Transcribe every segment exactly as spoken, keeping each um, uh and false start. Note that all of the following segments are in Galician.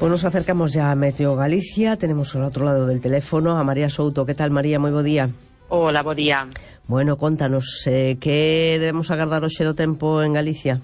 Pues nos acercamos ya a Meteo Galicia. Tenemos al otro lado del teléfono a María Souto. ¿Qué tal, María? Moi bo día. Hola, bo día. Bueno, contanos, eh, que debemos agardar hoxe do tempo en Galicia?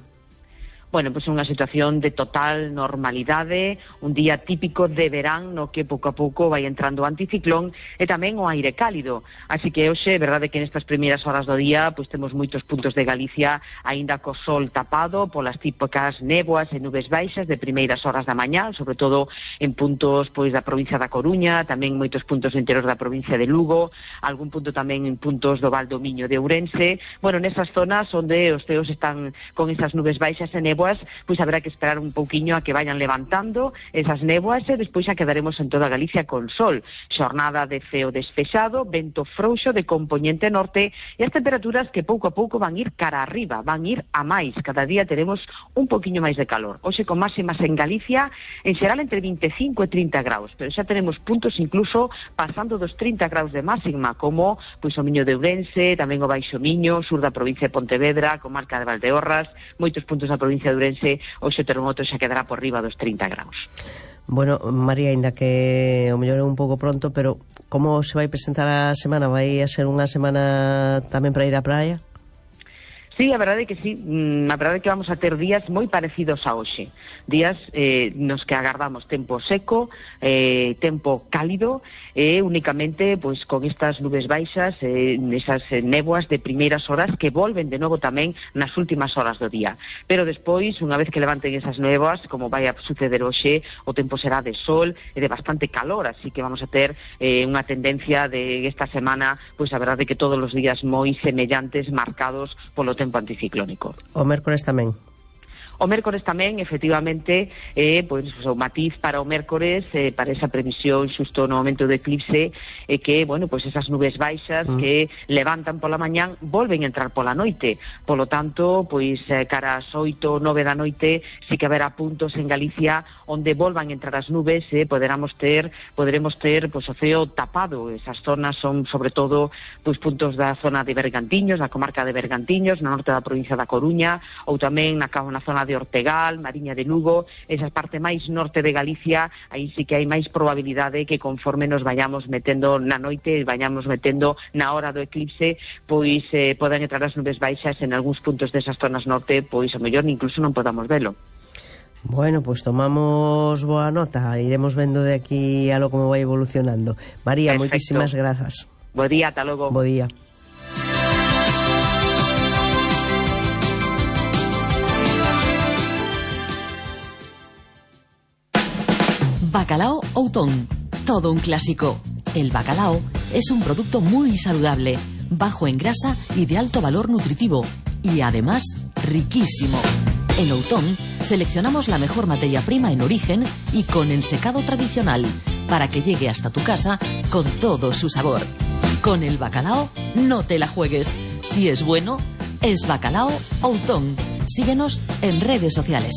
Bueno, pois pues unha situación de total normalidade, un día típico de verán no que pouco a pouco vai entrando o anticiclón e tamén o aire cálido. Así que hoxe, é verdade que nestas primeiras horas do día pois temos moitos puntos de Galicia aínda co sol tapado polas típicas néboas e nubes baixas de primeiras horas da mañá, sobre todo en puntos pois da provincia da Coruña, tamén moitos puntos enteros da provincia de Lugo, algún punto tamén en puntos do Val do Miño de Ourense. Bueno, nesas zonas onde os ceos están con esas nubes baixas e néboas, pois haberá que esperar un pouquiño a que vayan levantando esas néboas e despois xa quedaremos en toda Galicia con sol. Xornada de ceo despexado, vento frouxo de compoñente norte e as temperaturas que pouco a pouco van ir cara arriba, van ir a máis. Cada día teremos un pouquiño máis de calor. Hoxe con máximas en Galicia, en xeral entre vinte e cinco e trinta graus, pero xa tenemos puntos incluso pasando dos trinta graus de máxima, como pois o Miño de Ourense, tamén o Baixo Miño, sur da provincia de Pontevedra, comarca de Valdeorras, moitos puntos da provincia de Ourense, hoxe o termometro xa quedará por riba dos trinta graus. Bueno, María, ainda que o mellor é un pouco pronto, pero como se vai presentar a semana? Vai a ser unha semana tamén para ir á praia? Sí, a verdade é que sí, a verdade é que vamos a ter días moi parecidos a hoxe, días eh, nos que agardamos tempo seco, eh, tempo cálido e eh, únicamente pois con estas nubes baixas, eh, esas eh, néboas de primeiras horas que volven de novo tamén nas últimas horas do día, pero despois, unha vez que levanten esas néboas, como vai a suceder hoxe, o tempo será de sol e de bastante calor, así que vamos a ter eh, unha tendencia de esta semana, pois a verdade é que todos os días moi semellantes, marcados polo tempo anticiclónico. O mércores tamén? O mércores tamén, efectivamente, eh, pois, o matiz para o mércores, eh, para esa previsión xusto no momento do eclipse, eh, que, bueno, pois esas nubes baixas mm. que levantan pola mañán volven a entrar pola noite. Polo tanto, pois eh, cara ás oito, nove da noite, sí que haberá puntos en Galicia onde volvan a entrar as nubes, eh, poderamos ter, poderemos ter, pois, o ceo tapado. Esas zonas son, sobre todo, pois puntos da zona de Bergantiños, da comarca de Bergantiños, no norte da provincia da Coruña, ou tamén na, na zona de Ortegal, Mariña de Lugo, esa parte máis norte de Galicia, aí sí que hai máis probabilidade que conforme nos vayamos metendo na noite, vayamos metendo na hora do eclipse, pois eh, poden entrar as nubes baixas en algúns puntos desas zonas norte, pois a mellor incluso non podamos velo. Bueno, pues tomamos boa nota, iremos vendo de aquí a lo como vai evolucionando. María, Perfecto. Moitísimas grazas. Bo día, ata logo. Bo día. Bacalao Outón, todo un clásico. El bacalao es un producto muy saludable, bajo en grasa y de alto valor nutritivo, y además riquísimo. En Outón seleccionamos la mejor materia prima en origen y con ensecado tradicional, para que llegue hasta tu casa con todo su sabor. Con el bacalao no te la juegues. Si es bueno, es Bacalao Outón. Síguenos en redes sociales.